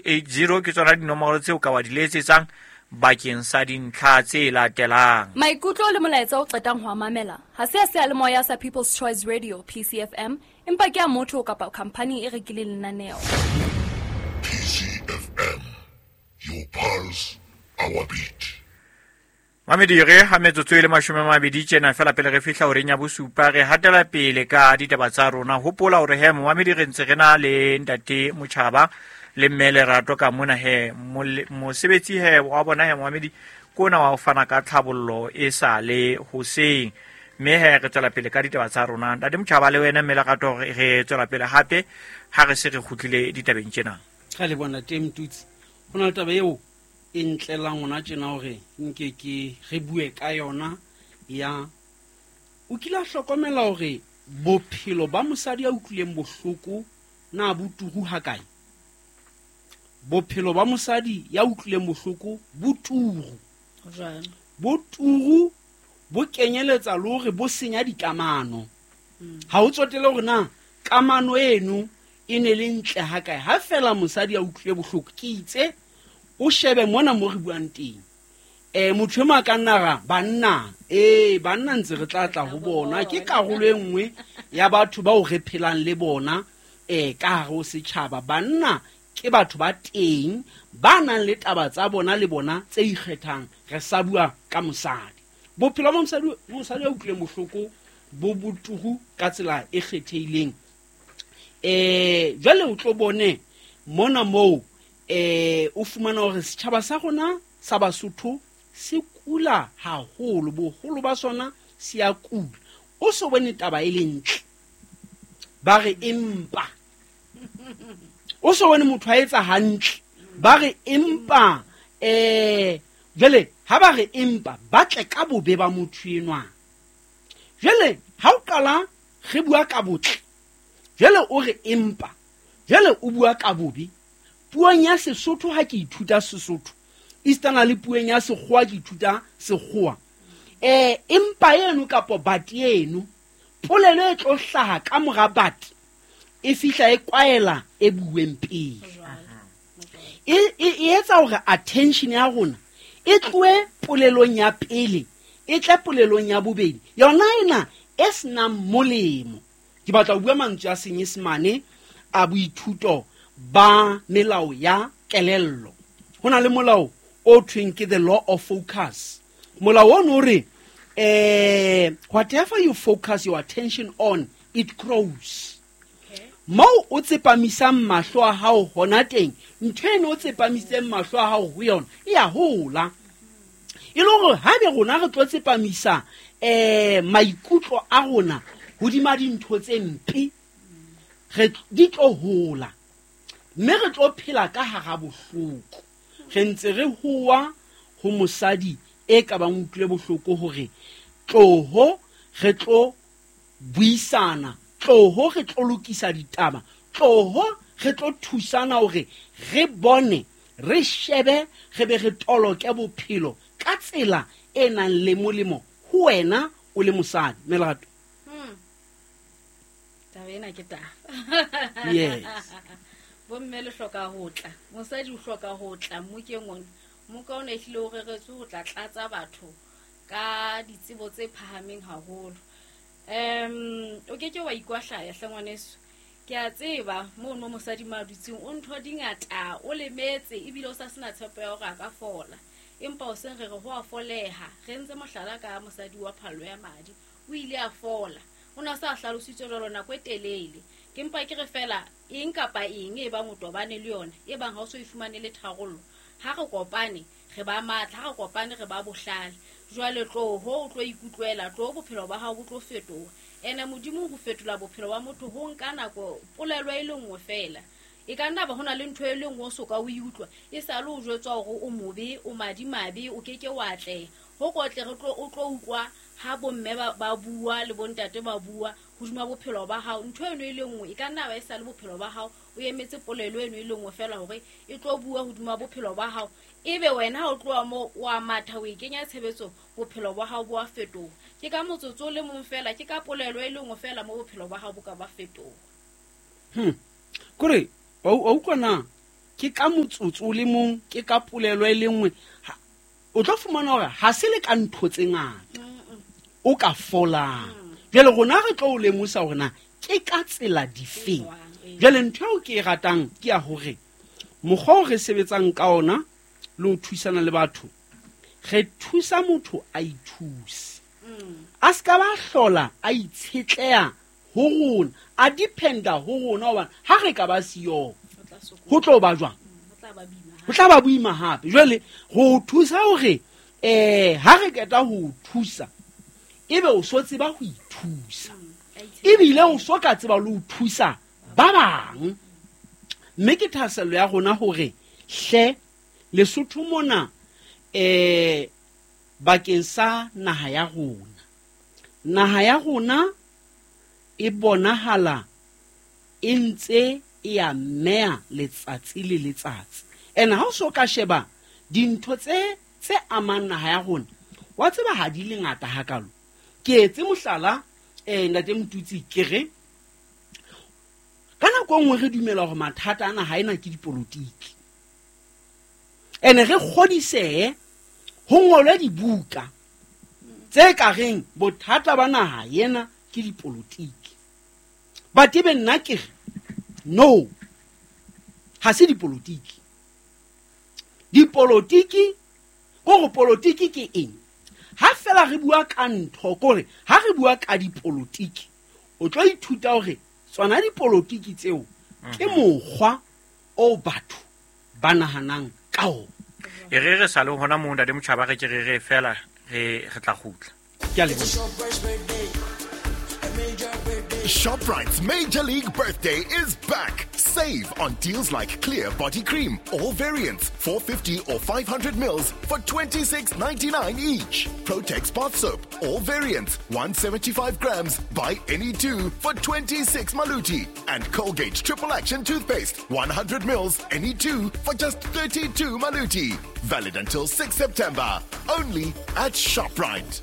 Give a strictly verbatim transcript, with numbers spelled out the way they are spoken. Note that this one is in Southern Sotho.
eight zero ke tsona dinomoro tseo ka wa di letsetsang bakeng sa dintlha tse latelang. Maikutlo le molaetsa o qetang ho a mamela ha se a seyalemoya sa People's Choice Radio P C F M, empa ke a motho kapa khampani e rekileng lenaneo. P C F M, your pulse, our beat. Mamedi re ha metsotso e le mashome a mabedi tjena fela pele re fihla horeng ya bosupa, re hatela pele ka ditaba tsa rona. Hopola hore he momamedi re ntse re na le ntate Motjhaba le mme Lerato ka mona he mole-, mosebetsi he wa bona he momamedi ke ona wa ho fana ka tlhabollo e sa le hoseng. Mme he re tswela pele ka ditaba tsa rona. Ntate Motjhaba le wena mme Lerato re, re tswela pele hape ha re se re kgutlile ditabeng tjena. Ra le bona teng Mtutsi. Ho na le taba eo e ntlelang hona tjena hore nke ke re bue ka yona ya o kile a hlokomela hore bophelo ba mosadi ya utlwileng bohloko na bo turu hakae? Bophelo ba mosadi ya utlwileng bohloko bo turu. Jwang? Bo turu bo kenyeletsa le hore bo senya dikamano. Mm. Ha o tsotele hore na kamano eno e ne le ntle hakae. Ha fela mosadi ya utlwile bohloko, ke itse o shebe mona mo re buang teng. Eh, motho e mong a ka nna ra, banna, eh, banna ntse re tla tla ho bona. Ke karolo e nngwe ya batho bao re phelang le bona, eh, ka hare ho setjhaba. Banna ke batho ba teng, ba nang le taba tsa bona le bona tse ikgethang. Re sa bua ka mosadi. Bophelo ba mosadi, mosadi ya utlwileng bohloko bo botuhu ka tsela e kgethehileng. Eh, jwale o tlo bone mona moo, eh, o fumana hore setjhaba sa rona sa Basotho se kula haholo, boholo ba sona se a kula. O so bone taba e le ntle, ba re empa. O so bone motho a etsa hantle, ba re empa. Eh, jwale ha ba re empa, ba tle ka bobe ba motho enwa. Jwale ha o qala re bua ka botle, jwale o re empa, jwale o bua ka bobe. Puong ya Sesotho ha ke ithuta Sesotho, esitana le puong ya Sekgowa ke ithuta Sekgowa. Eh, empa eno kapo bati eno, polelo e tlo hlaha ka mora bati, e fihla e kwaela e bueng pele. E, e, e etsa hore attention ya rona e tlohe polelong ya pele, e tle polelong ya bobedi. Yona ena e senang molemo. Ke batla ho bua mantswe a Senyesemane a boithuto ba melao ya kelello. Ho na le molao o thweng ke the law of focus. Molao ono o re, eh, whatever you focus your attention on, it grows. Okay. Moo o tsepamisang mahlo a hao hona teng, ntho eno o tsepamisitseng mahlo a hao ho yona e a hola. E le hore ha ebe rona re tlo tsepamisa, eh, maikutlo a rona hodima dintho tse mpe, re di tlo hola. Mme re tlo phela ka hara bohloko. Re ntse re howa ho mosadi e ka bang utlwile bohloko hore tloho re tlo buisana, tloho re tlo lokisa ditaba, tloho re tlo thusana hore re bone, re shebe, re be re toloke bophelo ka tsela e nang le molemo ho wena o le mosadi. Melato. Hmm. Taba ena ke taba. Yes. Bomme le hloka ho tla. Mosadi o hloka ho tla mmokeng ona. Mmoka ona ehlile o reretswe ho tla tlatsa batho ka ditsebo tse phahameng haholo. Em, o ke ke wa ikwahlaya hle ngwaneso. Ke a tseba mono mosadi ma dutseng o ntho di ngata, o lemetse ebile o sa sena tshepo ya hore a ka fola. Empa o seng re re ho a foleha. Re ntse mohlala ka mosadi wa phallo ya madi. O ile a fola. O na sa hlalositswe jwalo nako e telele. Ke mpa ke re fela eng kapa eng e bang o tobane le yona, e bang ha o so e fumane le tharollo. Ha re kopane re ba matla, ha re kopane re ba bohlale. Jwale tloho o tlo ikutlwela, tloho bophelo ba hao bo tlo fetoha. Ene Modimo ho fetola bophelo ba motho ho nka nako polelo e le nngwe fela. E ka nna ba hona le ntho e le nngwe o soka o e utlwa, e sa le o jwetswa hore o mobe, o madimabe, o keke wa atleha. Ho kotle re tlo, o tlo utlwa ha bomme ba, ba bua le bontate ba bua hodima bophelo ba hao. Ntho eno e le nngwe e ka nna ba e sa le bophelo ba hao, o emetse polelo eno e le nngwe fela hore e tlo bua hodima bophelo ba hao. Ebe wena ha o tloha moo o a matha, o e kenya tshebetsong, bophelo ba hao bo a fetoha. Ke ka motsotso o le mong fela, ke ka polelo e le nngwe fela mo bophelo ba hao bo ka ba fetoha. Hmm. Kore, wa u-, wa utlwa na? Ke ka motsotso o le mong, ke ka polelo e le nngwe. O tlo fumana hore ha se le ka ntho tse ngata o ka folang. Jwale rona re tlo o lemosa hore na ke ka tsela difeng. Jwale ntho eo ke e ratang ke ya hore mokgwa o re sebetsang ka ona le ho thusana le batho, re thusa motho a ithuse. A ska ba hlola a itshetleha ho rona, a dependa ho rona, hobane ha re ka ba siyo ho tlo ba jwang? Ho tla ba boima hape. Jwale ho thusa hore eh ha re qeta ho thusa ebe o so tseba ho ithusa, ebile o so ka tseba le ho thusa ba bang. Mme ke thahasello ya rona hore hle Lesotho mona eh bakeng sa naha ya rona, naha ya rona e bonahala e ntse e a meya letsatsi le letsatsi. Ene ha o so ka sheba dintho tse tse amang naha ya rona, wa tseba ha di le ngata hakalo. Ke etse mohlala eh ntate Motutsi, ke re ka nako nngwe re dumela hore mathata ana ha ena ke dipolotiki, ene re kgodisehe ho ngolwe dibuka tse ka reng bothata ba naha ena ke dipolotiki. But ebe nna ke re no, ha se dipolotiki. Dipolotiki kore polotiki ke eng? Ha fela re bua ka ntho, kore ha re bua ka dipolotiki, o tlo ithuta hore tsona dipolotiki tseo ke mokgwa o batho ba nahanang ka ona. E re re sa le hona moo ntate Motjhaba, re ke re re fela re re tla kgutla. Ke a leboha. ShopRite's Major League Birthday is back. Save on deals like Clear Body Cream, all variants, four fifty or five hundred mils for twenty-six ninety-nine each. Protex Bath Soap, all variants, one seventy-five grams, buy any two for twenty-six maluti. And Colgate Triple Action Toothpaste, one hundred mils, any two for just thirty-two maluti. Valid until sixth September. Only at ShopRite.